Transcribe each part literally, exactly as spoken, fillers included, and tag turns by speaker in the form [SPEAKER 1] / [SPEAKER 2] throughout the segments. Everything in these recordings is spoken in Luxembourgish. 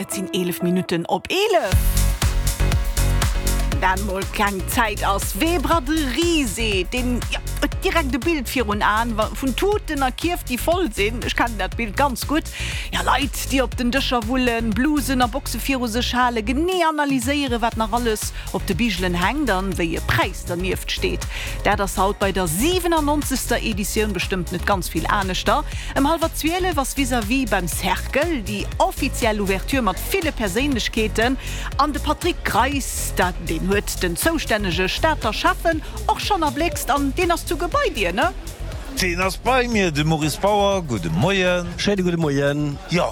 [SPEAKER 1] Et sinn eelef Minutten op eelef. Dan mol keng Zäit ass. Wee Braderie seet, deen huet direkt e Bild virun Aen vun Tuten a Kierf, déi voll sinn. Ech kennen dat Bild ganz gutt. Jo, Leit, déi op den Dëscher wullen, Blusen a Boxe viru sech halen, genee analyséieren, wat nach alles op de Bigelen hänkt an wéi e Präis dernieft steet. Dat ass haut bei der siwenannonzegster Editioun bestëmmt net ganz vill aneschter. Ëm hallwer zwielef ass vis-à-vis beim Cercle déi offiziell Ouverture mat ville Perséinlechkeeten an de Patrick Greis, deen huet den zoustännege Stater Schäffen och schonn erbléckst an deen ass souguer bei dir, ne?
[SPEAKER 2] Deen ass bei mir, de Maurice Bauer. Gudde Moien.
[SPEAKER 3] Schéine gudde Moien.
[SPEAKER 2] Jo,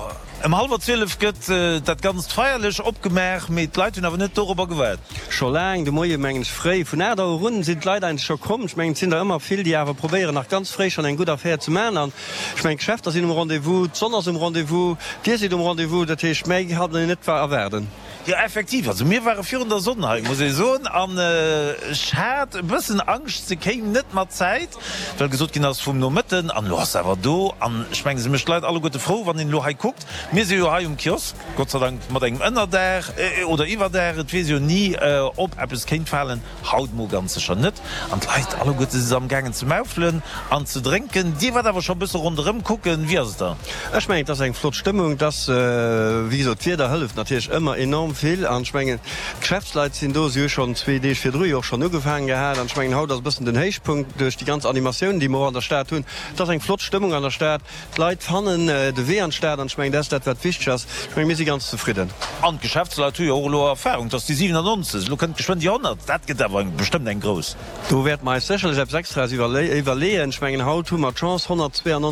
[SPEAKER 2] ëm hallwer zwielef gëtt dat Ganzt feierlech opgemaach, mee d'Leit hunn awer net dorobber gewaart.
[SPEAKER 3] Scho laang de Moie mengen ech, fréi vun aacht Auer un sinn d'Leit eigentlech scho komm. Ech mengen, et sinn der ëmmer vill, déi awer probéieren nach ganz fréi schonn eng gutt Affär ze maachen. An ech mengen, d'Geschäfter sinn um Rendez-vous, d'Sonn ass um Rendez-vous, Dir sidd um Rendez-vous. Dat heescht, méi kann een net erwaarden.
[SPEAKER 2] Jo, effektiv. Also mir ware virun der Sonn hei, muss ee soen. An ech hat e bëssen Angscht, se kéim net mat Zäit, well gesot ginn ass vum Nomëtten. An elo ass se awer do. An ech mengen, se mécht d'Leit alleguerte frou, wann een elo hei kuckt. Mir si jo hei um Kiosk, Gott sei Dank mat engem Ënnerdaach oder Iwwerdaach, et weess jo ni, ob eppes kéint falen. Haut mol ganz sécher net. An d'Leit alleguerte si se amgaangen ze maufelen an ze drénken. Dir waart awer scho e bësse ronderëm kucken. Wéi ass et da?
[SPEAKER 3] Ech mengen, et ass eng flott Stëmmung. Et ass, wéi gesot, d'Wieder hëlleft natierlech ëmmer enorm vill. An ech mengen, d'Geschäftsleit sinn do. Si hu schonn zwee Deeg virdru jo och schonn ugefaangen gehat. An ech mengen, haut ass e bëssen den Héichpunkt duerch déi ganz Animatioun, déi mer och an der Stad hunn. Et ass eng flott Stëmmung an der Stad. D'Leit fannen de Wee an d'Stad. An ech mengen, dat ass dat, wat wichteg ass. Ech mengen, mir si ganz zefridden.
[SPEAKER 2] An d'Geschäftsleit hu jo och elo Erfahrung, et ass déi siwenannonzeg, elo kënnt geschwënn déi honnert. Dat gëtt awer bestëmmt eng grouss.
[SPEAKER 3] Do wäerte mer eis sécherlech eppes Extraes iwwerleeën. Ech mengen, haut hu mer d'Chance, honnertzweeannonzeg.